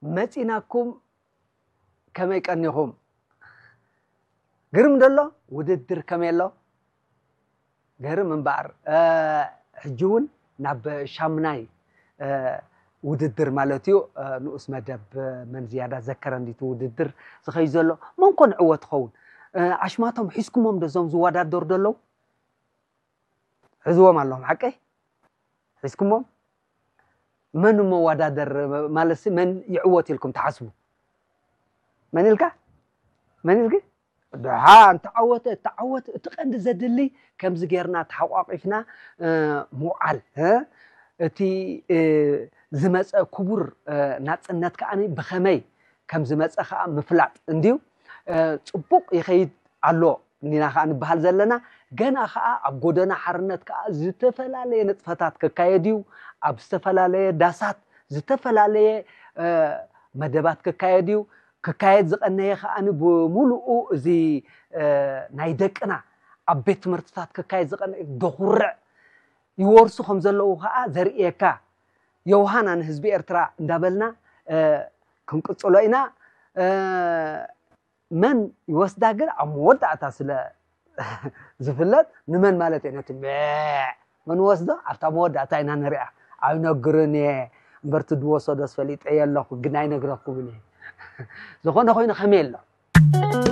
መፂናኩም። ከመይ ቀኒኹም? ግርም ደሎ ውድድር ከመይ ኣሎ? ገርም እምበኣር ሕጂ እውን ናብ ሻምናይ ውድድር ማለት እዩ፣ ንኡስ መደብ መን ዝያዳ ዘከረ እንዲቱ ውድድር ዝኸዩ ዘሎ። መን ኮን ዕወት ኸውን? ኣሽማቶም ሒዝኩሞም ዶ እዞም ዝወዳደሩ ደለዉ? ሕዝዎም ኣለኹም ሓቀይ? ሒዝኩሞም? መን መወዳደር ማለት መን ይዕወት ኢልኩም ትሓስቡ? መን ኢልካ? መን ኢልክ? ድሓ እንተዓወተ እተዓወት እቲ ቀንዲ ዘድሊ ከምዚ ጌርና ተሓቋቂፍና ምውዓል፣ እቲ ዝመፀ ክቡር ናፅነት ከዓ ብኸመይ ከም ዝመፀ ከዓ ምፍላጥ እንድዩ። ፅቡቕ ይኸይድ ኣሎ እንዲና ከዓ ንበሃል ዘለና። ገና ከዓ ኣብ ጎደና ሓርነት ከዓ ዝተፈላለየ ንጥፈታት ክካየድ እዩ። ኣብ ዝተፈላለየ ዳሳት ዝተፈላለየ መደባት ክካየድ እዩ። ክካየድ ዝቐነየ ከዓ ብምሉኡ እዚ ናይ ደቅና ኣብ ቤት ትምህርትታት ክካየድ ዝቐነየ ደኹርዕ ይወርሱ ከም ዘለዉ ከዓ ዘርእየካ። ዮውሃና ንህዝቢ ኤርትራ እንዳበልና ክንቅፅሎ ኢና። መን ይወስዳ ግን ኣብ መወዳእታ ስለ ዝፍለጥ፣ ንመን ማለት እየ ነቲ መን ወስዶ ኣብታ መወዳእታ ኢና ንሪኣ። ኣይነግርን እየ እምበርቲ ድወሰዶስ ፈሊጠ ኣለኹ ግን ኣይነግረኩምን እየ። ዝኾነ ኮይኑ ከመይ ኣሎ?